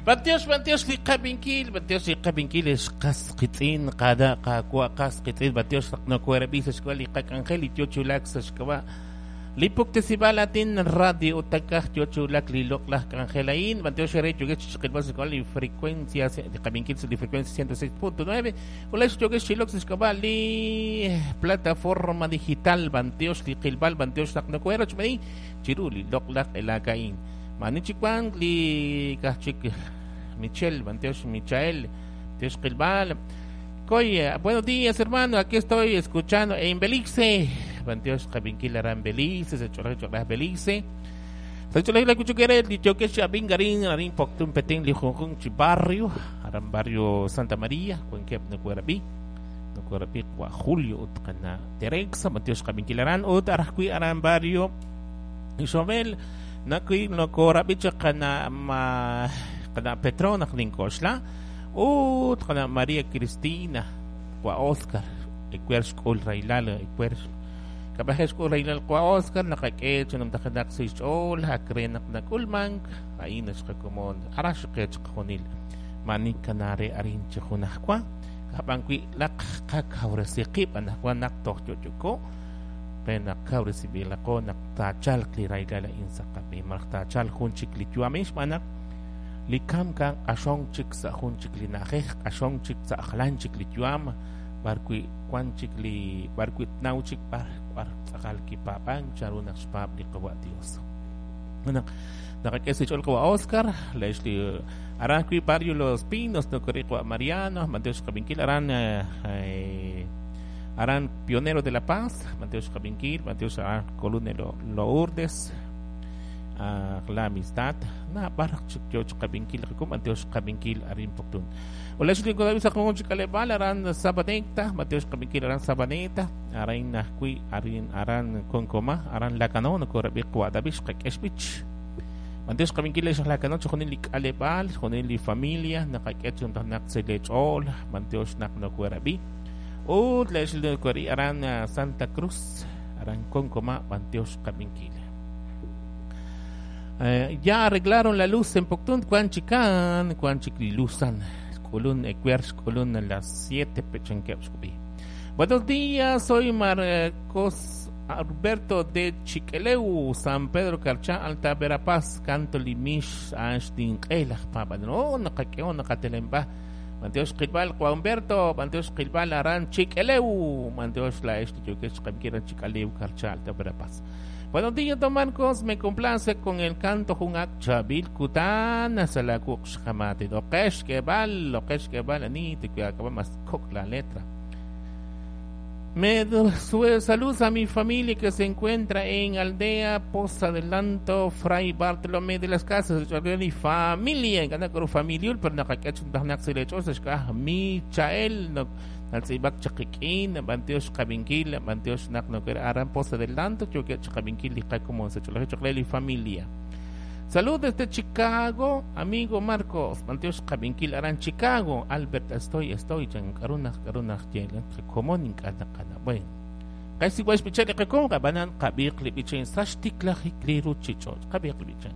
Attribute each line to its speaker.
Speaker 1: B'antiox, b'antiox li qab'inkil, b'antiox li qab'inkil ex qas qiitz'in, qana' qaawa' qas qiitz'in, b'antiox naq nokoherab'i sa' xk'ab'a' li qak'anjel li yo chi wulak sa' xk'ab'a' li puktesib'aal aatin radio utakaj yo chi wulak li loq'laj k'anjel a'in, b'antiox eere yookex chi qilb'al sa' xk'ab'a' li frecuencia, li qab'inkil sa' li frecuencia 106.9, ulax yookex chi ilok sa' xk'ab'a' li plataforma digital, b'antiox li qilb'al, b'antiox naq nokoherochb'eeni chiru li loq'laj q'elaak a'in. Maani chik wank li kaj chik Michelle, b'antiox Michael, b'antiox qilb'al. Koy, buenos días hermano, aquí estoy escuchando en Belice. B'antiox qab'inkil aran Belice, sa' ch'olej ch'olej Belice. Sa' ch'olej la kuchukere li yokex chi ab'ink arin arin Poptún Petén li junjunq chi barrio, aran barrio Santa María, wankeb' nokoherab'i. Nokoherab'i wa Julio ut qana Terexa, b'antiox qab'inkil aran ut arajwi' aran barrio Ixobel, nakui nokorab'i chaq qana' ma qana' Petro naq nink'oxla ut qana' María Cristina wa Oscar ewer xk'ul rahilal ewer kab'aje xk'ul rahilal wa Oscar naqak'e chi numtajenaq sa' xch'ool ak re naq nak'ulmank a'in naxqakomon ara xiqe chiqajunil maani kanaa re arin chi junajwa ab'an wi' laq qakawresi qib' anaqwan naq toj yo'yoko re naq kawresinb'ilaqo naq taachalq li rahilal a'in sa' qab'een malaj taachalq jun chik li yu'am a'in xb'aan naq li kamk a'an q'axonk chik sa' jun chik li na'ajej, q'axonk chik sa' jalan chik li yu'am b'arwi' wan chik li b'arwi' tnaw chik b'ar b'ar tz'aqal kipaab'ank chanru naq xpaab' li Qawa' Dios. Naq naqak'e sa' xch'ool Qawa' Oscar, lex li aran ajwi' Barrio Los Pinos nokoriq Qawa' Mariano, b'antiox xqab'inkil aran aran Pionero de la Paz, b'antiox xqab'inkil, b'antiox aran Columna Lourdes, La Amistad, na b'ar chik yo xqab'inkil qakum, b'antiox xqab'inkil arin Poptún. Ulax li kodabi sa jun chik k'aleb'aal aran Sabaneta, b'antiox xqab'inkil aran Sabaneta, aran ajwi' arin aran Konkoma, aran Lacanau nokorab'i Qawa' David xqak'e xb'ich. B'antiox xqab'inkil lex Lacanau chixjunil li k'aleb'aal, chixjunil li familia, naqak'e chi naq sa' lech'ool, b'antiox naq nokoherab'i. Ut lex li aran Santa Cruz, aran Konkoma, b'antiox xqab'inkil. Ya arreglaron la luz en Poptún, wan chikan, wan chik li luzan. Xk'ulun ewer xk'ulun a las 7 pechankeb' xk'ub'i. Buenos días, soy Marcos Alberto de Chiqueleu, San Pedro Carchá, Alta Verapaz, canto limix, a'an xninq'e laj paab'anel. Oh, naqak'eho naqatelenb'a. B'antiox qilb'al Juan Humberto, b'antiox qilb'al aran Chiqueleu, b'antiox la'ex li yookex xqab'inkil aran Chik'alew, Carchá, Alta Verapaz. Buenos días, don Marcos. Me complace con el canto jun ak chabil kutan sa la wuq xqamati. Oqex kebal, oqex kebal ani te acaba más kok la letra. Me saludos a mi familia que se encuentra en Aldea Poza Adelanto, Fray Bartolomé de las Casas, mi familia, en Canacoro familia, pero nakakach Michael, naltz'ib'ak chaqiq'in, b'antiox xqab'inkil, b'antiox naq noker aran Poza Adelanto, yoke xqab'inkil li qakomon sa' ch'olej choqle li familia. Salud desde Chicago, amigo Marcos, b'antiox xqab'inkil aran Chicago, Albert estoy, estoy, chan k'arunaj, k'arunaj, yel, qakomon ink'a' naqana. Bueno, qaysi wax b'ichel li qakom, qab'anan qab'iq li b'ichen sa' xtiklajik li ruchich'och', qab'iq li b'ichen.